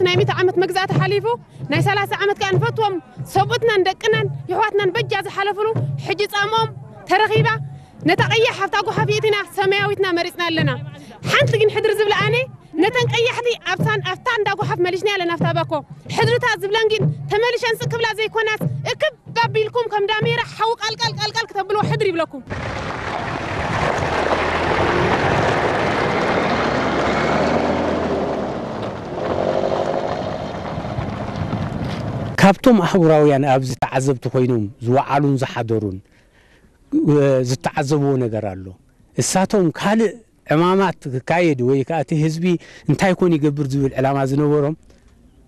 ናይ ሚእቲ ዓመት መግዛእቲ ሓሊፉ፣ ናይ ሰላሳ ዓመት ከኣ ንፈትዎም ሰብኡትናን ደቅናን የሕዋትናን በጃ ዝሓለፍሉ፣ ሕጂ ጻምኦም ተረኺባ፣ ነታ ቀያሕ ኣብታ ጓሓፍ ይእቲና፣ ሰማያዊትና መሪጽና ኣለና። ሓንቲ ግን ሕድሪ ዝብላ ኣነ፣ ነተን ቀያሕቲ ኣብታን፣ ኣብታ እንዳ ጓሓፍ መሊስና ኣለና፣ ኣብታ ባኮ። ሕድርታት ዝብለን ግን ተመሊሸን ስቅ ክብላ ዘይኮናስ፣ እክብ ኣቢልኩም ከም ዳሜራ ሓዊ ቃልቃል ቃልቃል ክተብልዎ ሕድሪ ይብለኩም። ካብቶም ኣህጉራውያን ኣብዚ ተዓዘብቲ ኮይኖም ዝወዓሉን ዝሓደሩን ዝተዓዘብዎ ነገር ኣሎ። እሳቶም ካልእ ዕማማት ክካየድ ወይ ከዓ እቲ ህዝቢ እንታይ ኮን ይገብር ዝብል ዕላማ ዝነበሮም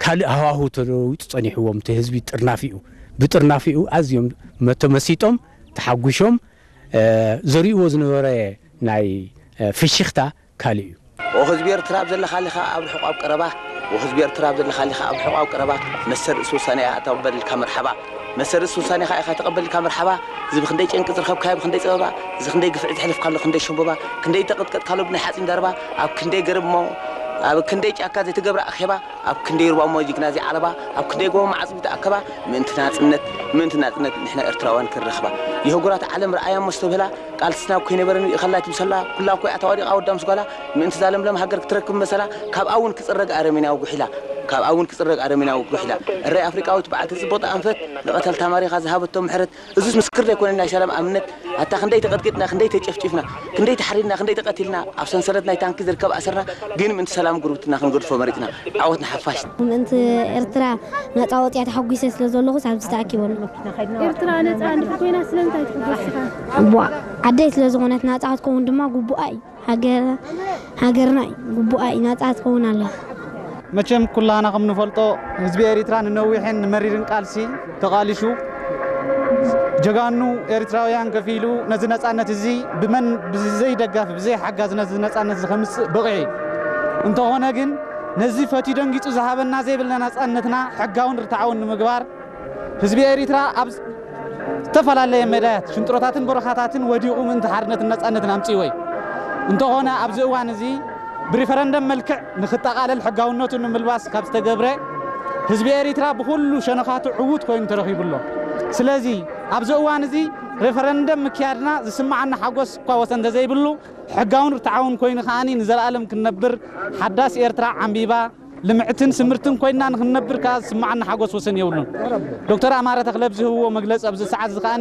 ካልእ ሃዋሁ ተለዊጡ ጸኒሕዎም። እቲ ህዝቢ ጥርናፊኡ ብጥርናፊኡ ኣዝዮም መተመሲጦም ተሓጒሾም። ዘርእዎ ዝነበረ ናይ ፍሽኽታ ካልእ እዩ። ኦ ህዝቢ ኤርትራ ኣብ ዘለኻሊኻ ኣብ ርሑቕ ኣብ ቀረባ፣ ኦ ህዝቢ ኤርትራ ኣብ ዘለኻሊኻ ኣብ ርሑቕ ኣብ ቀረባ፣ መሰል ርእሲ ውሳኔ እያ ኣታ በልልካ መርሓባ። መሰል ርእሲ ውሳኔኻ ኢኻ ተቐበልልካ መርሓባ። እዚ ብኽንደይ ጨንቂ ዝረኸብካዮ ብኽንደይ ጸበባ፣ እዚ ክንደይ ግፍዒ ዘሕለፍካሉ ክንደይ ሸምቦባ፣ ክንደይ ተቐጥቀጥካሉ ብናይ ሓጺን ደርባ፣ ኣብ ክንደይ ገረብ እሞ ኣብ ክንደይ ጫካ ዘይተገብረ ኣኼባ፣ ኣብ ክንደይ ሩባ እሞ ጅግና ዘይዓለባ፣ ኣብ ክንደይ ጎቦ መዓጽቢ ተኣከባ፣ ምእንቲ ናጽነት፣ ምእንቲ ናጽነት ንሕና ኤርትራውያን ክንረኽባ። የህጉራት ዓለም ረኣያ እሞ ዝተብህላ፣ ቃልስና እኮ ይነበረን ይእኸላ ትምሰላ፣ ኩላ እኮ እያ ተዋዲቓ ወዳም ስጓላ፣ ምእንቲ እዛ ለምለም ሃገር ክትረክብ መሰላ፣ ካብኣ እውን ክጽረግ ኣረሜናዊ ጉሒላ፣ ካብኣ እውን ክጽረግ ኣረሜናዊ ጉሒላ። እረይ ኣፍሪቃዊት በዓልቲ ጽቡቕ ኣንፈት፣ ንቐተልታ ማሪኻ ዝሃበቶ ምሕረት፣ እዙስ ምስክር ዘይኮነ ናይ ሰላም ኣብነት፣ ኣታ ክንደይ ተቐጥቂጥና፣ ክንደይ ተጨፍጭፍና፣ ክንደይ ተሓሪድና፣ ክንደይ ተቐቲልና፣ ኣብ ሰንሰለት ናይ ታንኪ ዝርከብ ኣሰርና፣ ግን ምእንቲ ሰላም ጉርብትና ክንገድፎ መሪጽና። ዓወት ንሓፋሽ። ምእንቲ ኤርትራ ነጻ ወጽያ ተሓጒሰ ስለ ዘለኹስ ኣብዚ ተኣኪበ ኣለኹ። ኤርትራ ነጻ እንድሕር ኮይና ስለምንታይ ትሕጎስ ኢኻ? እዋ ዓደይ ስለ ዝኾነት ናጻ ክትከውን ድማ ግቡኣ እዩ። ሃገር ሃገርና እዩ። ግቡኣ እዩ። ናጻ ክትከውን ኣለዋ። መቸም ኩላህና ከም ንፈልጦ ህዝቢ ኤሪትራ ንነዊሕን ንመሪርን ቃልሲ ተቓሊሹ ጀጋኑ ኤሪትራውያን ከፊሉ ነዚ ነጻነት እዚ ብመን ብዘይ ደጋፊ ብዘይ ሓጋዚ ነዚ ነጻነት እዚ ከምጽእ በቒዑ እዩ። እንተኾነ ግን ነዚ ፈትዩ ደንጊጹ ዝሃበና ዘይብልና ነጻነትና ሕጋውን ርትዓውን ንምግባር ህዝቢ ኤሪትራ ኣብ ዝተፈላለየ መዳያት ሽንጥሮታትን በረኻታትን ወዲቑ ምእንቲ ሓርነትን ነጻነትን ኣምጺእዎ እዩ። እንተኾነ ኣብዚ እዋን እዚ ብሪፈረንደም መልክዕ ንኽጠቓለል ሕጋውነቱ ንምልባስ ካብ ዝተገብረ ህዝቢ ኤሪትራ ብኹሉ ሸነኻቱ ዕዉት ኮይኑ ተረኺቡ ኣሎ። ስለዚ ኣብዚ እዋን እዚ ሬፈረንደም ምክያድና ዝስምዓና ሓጎስ እኳ ወሰን እንተዘይብሉ ሕጋውን ርትዓውን ኮይኑ ከኣ ንዘለኣለም ክንነብር ሓዳስ ኤርትራ ዓምቢባ ልምዕትን ስምርትን ኮይና ንክንነብር ከኣ ዝስምዓና ሓጎስ ወሰን የብሉን። ዶክተር ኣማረ ተኽለ ኣብ ዝህብዎ መግለጺ ኣብዚ ሰዓት እዚ ከኣ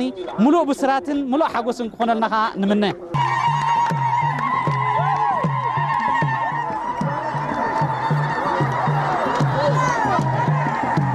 ምሉእ ብስራትን ምሉእ ሓጎስን ክኾነልና ከኣ ንምነ።